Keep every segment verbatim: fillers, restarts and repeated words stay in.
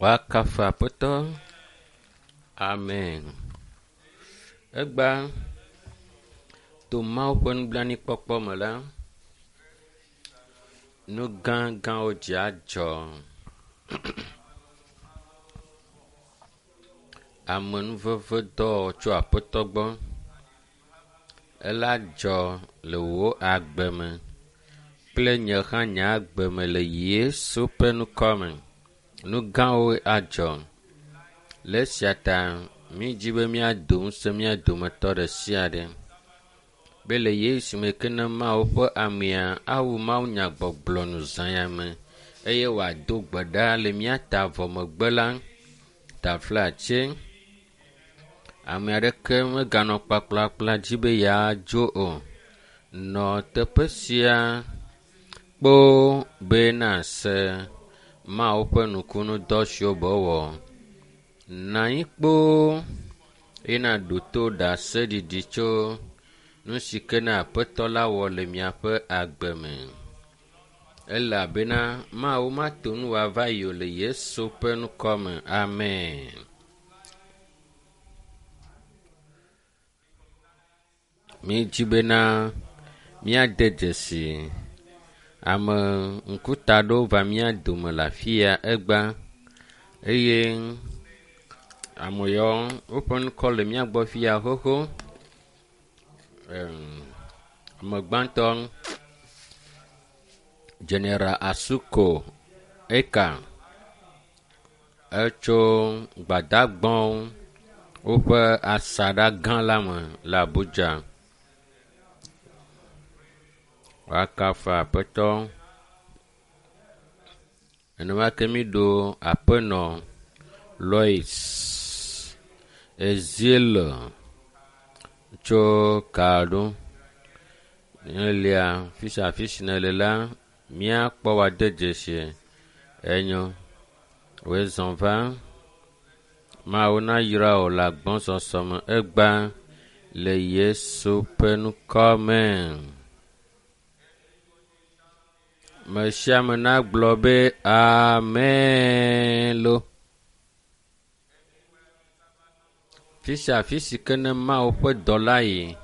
Woakafu Aƒetɔ. Amen. Egba to Mawu ƒe nublanuikpɔkpɔ me la, nu gãgãwo dzi adzɔ. Amenuveve dɔwɔwɔ tso Aƒetɔ gbɔ. Ela dzɔ le wò agbe me kple nye hã nye agbe me le Yesu ƒe ŋkɔ me. Nu gãwo adzɔ. Le esia ta mídzi be míado ŋusẽ mía dometɔ ɖe sia ɖe be le Yesu me ke ne Mawu ƒe amea awu mawunyagbɔgblɔ nu zã ya me eye wòado gbe ɖa le mía ta vɔ megbe la, taflatse ame aɖeke meganɔ kplakplakpla dzi be yeadzo o. Nɔ teƒe sia kpoo be nase Mawu ƒe nukunudɔ siwo be wɔ. Nɔ anyi kpoo eye naɖo to ɖaseɖiɖi tso nu si ke ne Aƒetɔ la wɔ le miaƒe agbe me. Elabena Mawu mato nu wòava yi o le Yesu ƒe ŋkɔ me. Amen. Mídzi bena míade dzesi ame ŋkuta aɖewo va mía dome le afi ya egbea eye ame yawo woƒe ŋkɔ le mía gbɔ fi ya xoxo. Ame gbãtɔ General Asuko Eka etso Gbadagbɔwo woƒe asaɖa gã la me le Abuja. Woakafu Aƒetɔ. Nenema ke míɖo aƒenɔ Lois Ezeal tso Kaɖo. Elia fi sia fi si nèle la, míakpɔ wòade dzesi. Enyo. Wòe zɔ va. Mawu nayra wò le agbɔsɔsɔ me egbea le Yesu ƒe ŋkɔ me. Ame sia ame nagblɔ be amen lo. Fi sia fi si ke ne Mawu ƒe dɔla yi,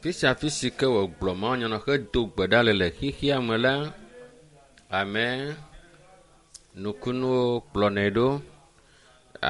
fi sia fi si ke wògblɔ mawunya na hedo gbe ɖa le le xexea me la, amen. Nukunuwo kplɔnɛ ɖo.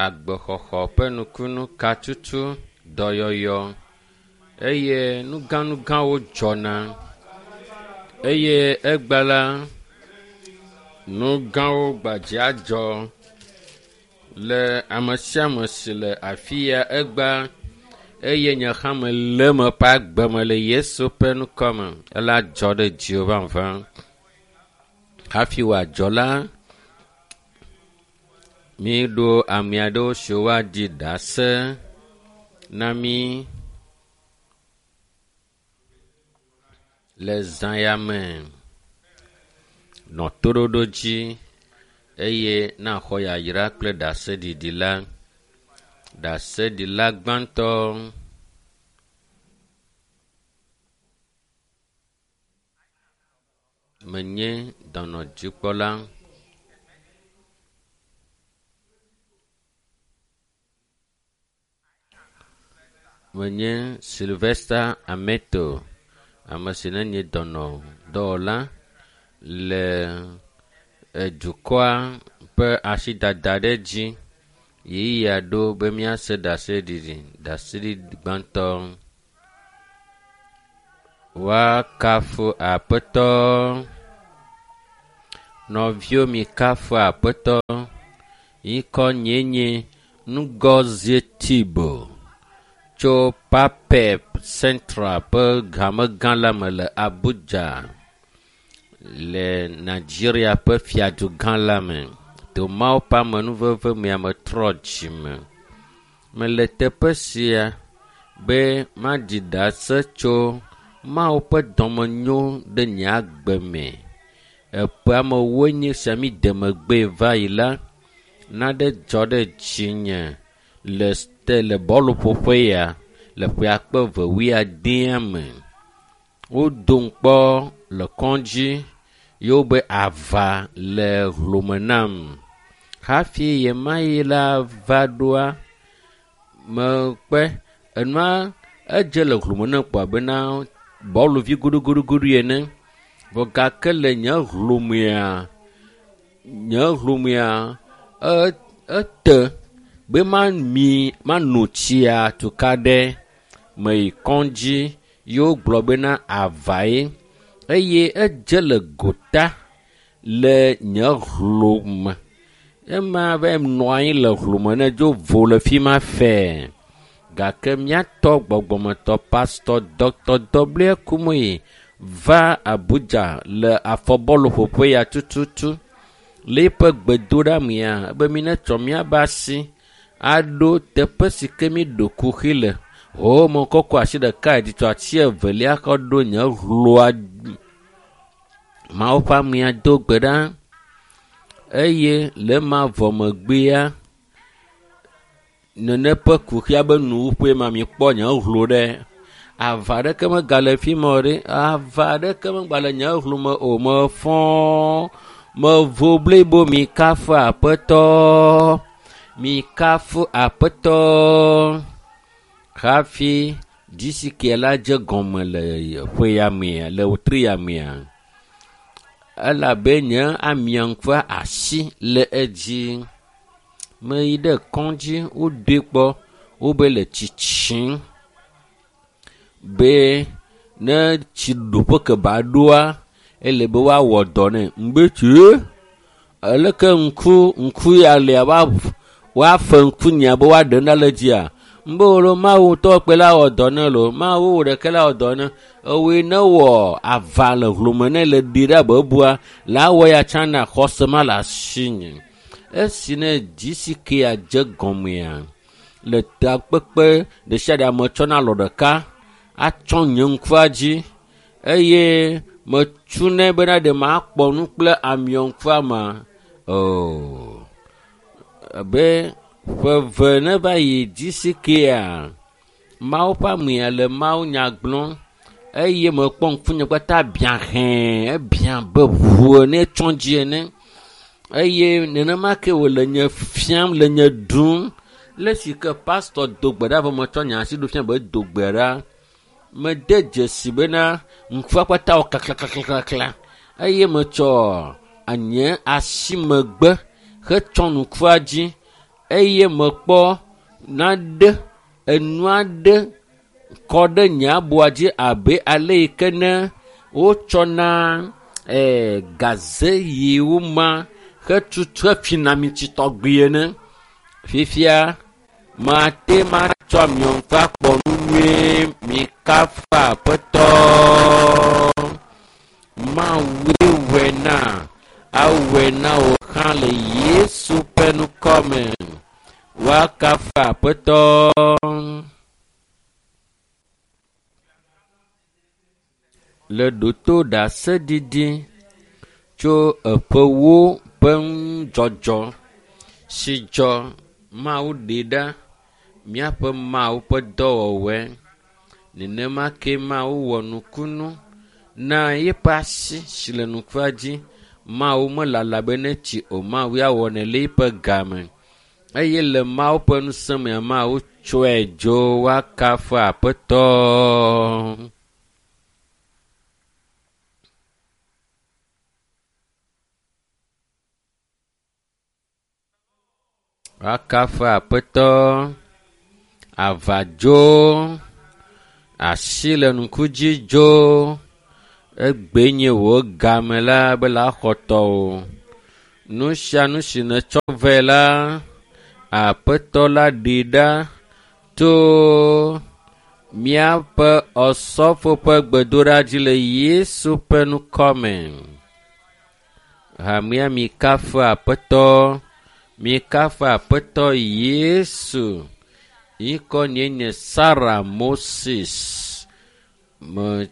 Agbexɔxɔ ƒe nukunu, katutu, dɔyɔyɔ eye nugãnugãwo dzɔna eye egbe la, nu gãwo gbadze adzɔ le ame sia ame si le afi ya egbea eye nye hã mele eme ƒe agbe me le Yesu ƒe ŋkɔ me. Ela dzɔ ɖe dziwò vavã. Hafi wòadzɔ la, míɖo ame aɖewo siwo woaɖi ɖase na mí le zã ya me. Nɔ toɖoɖo dzi eye naxɔ yayra kple ɖaseɖiɖi la. Ɖaseɖila gbãtɔ menye dɔnɔdzikpɔla. Menye Sylvester Ameto, ame si nenye dɔnɔdɔwɔla le edukɔa ƒe asidada ɖe dzi. Ɣeyiɣia ɖo be míase ɖaseɖiɖi. Ɖaseɖiɖi gbãtɔ. Woakafu Aƒetɔ. Nɔviwo mikafu Aƒetɔ. Ŋkɔ nyee nye Ngozi Tibo tso Papep Central ƒe hamegã la me le Abuja le Nigeria ƒe fiadugã la me. To Mawu ƒe amenuveve mea metrɔ dzime. Mele teƒe sia be maɖi ɖase tso Mawu ƒe dɔmenyo ɖe nye agbe me. Eƒe amewoe nye sia mi de megbee va yi la, naɖe dzɔ ɖe dzinye le le bɔluƒoƒe ya le ƒe akpe eve wuiadea me. Wodom kpɔ le kɔdzi ye wobe ava le hlome nam. Hafi ɣemaɣi la va ɖoa, mekpe enua edze le hlome ne kpɔ abena bɔluvi guɖuguɖuguɖu ene. Vɔ gake le nye hlomea, nye hlomea e ete be mami mano tsia tuka ɖe meyi kɔdzi ye wogblɔ bena avae eye edze le gota le nye hlome. Ema va nɔ anyi le hlome ne dzo vo le fi ma fɛɛ. Gake míatɔ gbɔgbɔmetɔ Pastor Dr. W. Kumuyi va Abuja le afɔbɔluƒoƒe ya tututu. Le eƒe gbedoɖa be mi netsɔ míabe asi aɖo teƒe si ke mi ɖo kuxi le. Ho mekɔkɔ asi ɖeka dzi tsɔ asi evelia kɔ ɖo nye hloa. Mawu ƒe amea do gbe ɖa eye le ema vɔ megbea nene ƒe kuxia be nuwuƒe ma mikpɔ nye hlo ɖe. Ava aɖeke megale fi ma o ɖe. Ava aɖeke megale nye hlo me o. Mefɔ mevo blibo mikafu Aƒetɔ. Mikafu Aƒetɔ. Hafi GCK la dze gɔme le ƒe ya mea, le wetri ya mea, elabe nye amia ƒe asi le edzi. Meyi ɖe kɔdzi wodoe kpɔ wobe le tsitsim be ne tsi ɖoƒe ke ba ɖoa ele be woawɔ dɔ nɛ. Ŋgbe tsie aleke ŋku ŋku ya lia woafe ŋku nya be woaɖe na le dzia. Ŋgbe wo lo Mawu ŋutɔ kpe la wɔ dɔ ne lo. Mawu wò ɖeke la wɔ dɔ ne. Ewɔe ne wɔ ava le hlome ne le ɖi ɖe abe ebua la wɔ ya tsã na xɔse ma le asinye. Esi ne GCK dze gɔmea le takpekpe ɖe sia ɖe ame tsɔna alɔ ɖeka atsɔ nye ŋkua dzi eye metsunɛ bena ɖe makpɔ nu kple amiɔ ŋkua ma. Oh, abe ƒe eve ne va yi GCK-a, Mawu ƒe amea le Mawu nya gblɔm eye mekpɔ ŋkunye kpata biã hɛ̃, ebiã be ʋu ene tsɔ dzi ene eye nenema ke wòle nye fiam le nye ɖum. Le si ke pastor do gbe ɖa vɔ metsɔ nye asi ɖo fia be do gbe ɖa. Mede dzesi bena ŋkua kpata wɔ klaklaklaklakla eye metsɔ nye asi megbe hetsɔ ŋkua dzi eye mekpɔ nane enu aɖe kɔ ɖe nye abɔa dzi abe ale yi ke ne wotsɔna ee gaze yiwo ma hetutu hefina amitsi tɔgbi ene. Fifia mate matsɔ amiɔ ŋku akpɔ nu nyuie. Mikafu Aƒetɔ. Mawue wɔe na awɔe na wò hã le Yesu ƒe ŋkɔ me. Woakafu Aƒetɔ. Le ɖoto ɖaseɖiɖi tso eƒewo ƒe ŋudzɔdzɔ si dzɔ Mawu ɖe ɖa míaƒe Mawu ƒe dɔwɔwɔe. Nenema ke Mawu wɔ nukunu na eƒe asi si le nukua dzi. Mawu melala be netsi o. Mawu ya wɔnɛ le eƒe game eye le Mawu ƒe ŋusẽ mea Mawu tsɔe dzo woakafu Aƒetɔ. Woakafu Aƒetɔ. Ava dzo, asi le ŋku dzi dzo. Egbe nye wò game la be la xɔ tɔwò. Nu sia nu si nètsɔ vɛ la, Aƒetɔ la ɖee ɖa to míaƒe osɔfo ƒe gbedoɖa dzi le Yesu ƒe ŋkɔ me. Hamea mikafu Aƒetɔ, mikafu Aƒetɔ Yesu. Ŋkɔ nye nye Sarah Moses. Me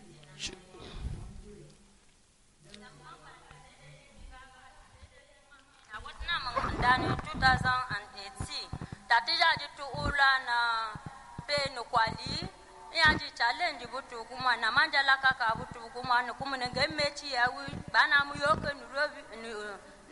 two thousand eighteen tatija di tu ula na pe nukwali ya di challenge butu kuma na manjala kaka butu kuma no kuma ne gemechi ya wi bana mu yoke nu robi nu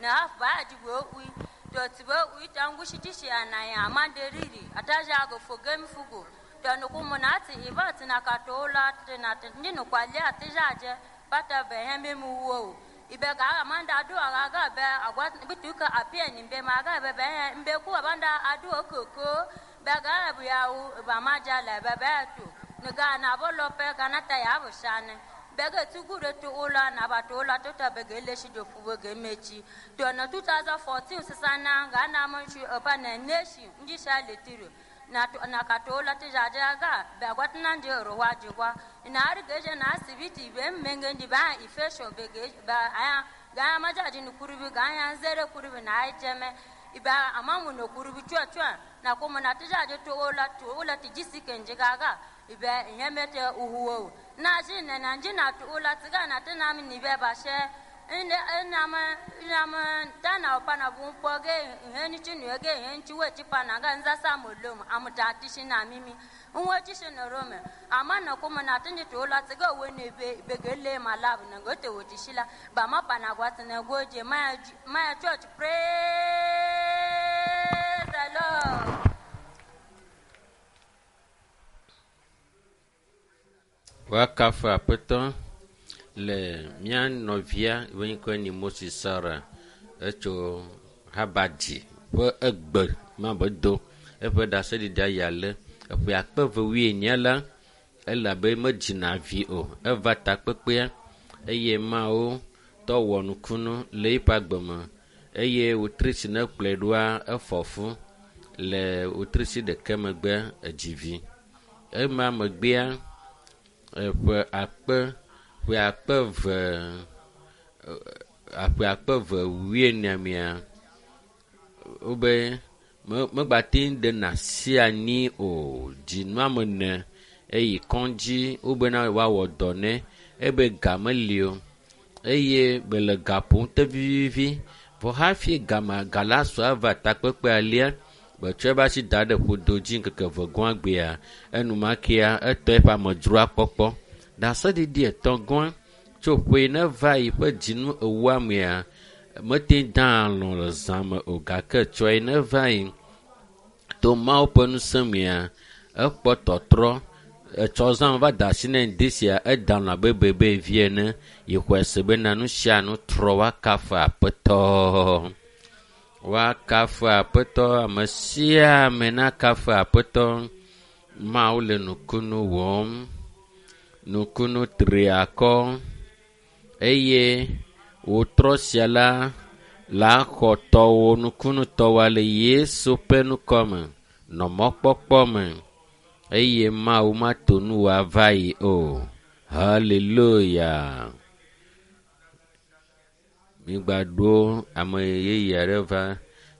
na half ba di go wi To tibe uita ngushitishi anaya amande riri ataja go fogem fugo. To nukumuna ati iba tina katola tina ndinu kwalia atijaje bata behembe muwo. Ibe ga amanda adu aga be agwa bituka apia ni mbe maga be be mbe ku abanda adu okoko be ga bu yawu ba majala be be tu niga na bolo pe kana ta ya bu shane bege tugure to ola na ba to ola to ta bege le shi do fu bege mechi to na twenty fourteen sisana ga na mun shi opa na neshi nji sha letiru na to na ka to ola ti jaja ga be gwat na nje ro wa jigwa na ar geje na asibiti be menge ndi ba ifesho bege ba aya ga ma jaji ni kurubi ga ya nzere kurubi na ai jeme iba amamu no kurubi chwa chwa na kuma na tijaje to ola to ola ti jisike njigaga ibe nyemete uhuwo na ji na na nji na to ola tiga na tina mi ni be ba she ine ina ma ina ma tana opa na bu mpo ge ihe ni chinu ge ihe nchi we chipa na ga nza sa molom amuta tishi na mimi nwe tishi na rome ama na kuma na tinji to ola tiga we ne be be gele ma lab na gote wo tishila ba ma pa na gwa tina goje ma ma church praise the Lord. Woakafu aƒetɔ le mía nɔvia yi ŋkɔe nye Moses Sara etso Habadzi ƒe egbe ma be do eƒe ɖaseɖiɖia ya le eƒe akpe eve wuienyi la elabe medzina vi o eva takpekpea eye mawo tɔ wɔ nukunu le eƒe agbe me eye wotri si ne kplɔe ɖoa efɔ fu le wotri si ɖeke megbe edzi vi ema megbea eƒe akpe ƒe akpe ve aƒe akpe ve wuiene mea wobe megbate ŋu ɖe nasi anyi o dzinua me ne eyi kɔdzi wobena woawɔ dɔ nɛ ebe ga meli o eye bele ga ƒom te vivivi vɔ hafi gama ga la sɔ ava takpekpe alia betsɔ eƒe asi da ɖe ƒodo dzi ŋkeke eve gɔ̃a gbea enumakea etɔ eƒe amedzroa kpɔkpɔ ɖaseɖiɖi etɔ̃ gɔ̃a tso ƒe ne va yi ƒe dzinu ewoa mea mete da alɔ̃ le zã me o gake tsɔe ne va yi to Mawu ƒe ŋusẽ mea ekpɔ tɔtrɔ etsɔ zã va da asi nɛ ŋdi sia eda alɔ̃ abe bebe vi ene yi xɔe se bena nu sia nu trɔ woakafu aƒetɔ. Woakafu aƒetɔ ame sia ame nakafu aƒetɔ. Mawu le nukunu wɔm nukunu tri akɔ eye wòtrɔ sia la la xɔ tɔwò nukunu tɔwoa le Yesu ƒe ŋkɔme nɔ mɔkpɔkpɔ me eye Mawu mato nu wòava yi o. Hallelujah. Migbaɖo ame yeye aɖe va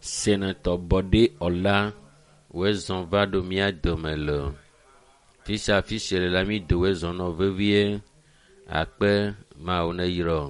senetɔ Bɔɖe Ɔla woezɔ va ɖo mía dome le fi sia fi si le la mi do woezɔ nɔ vevie akpe Mawu ne yrɔ.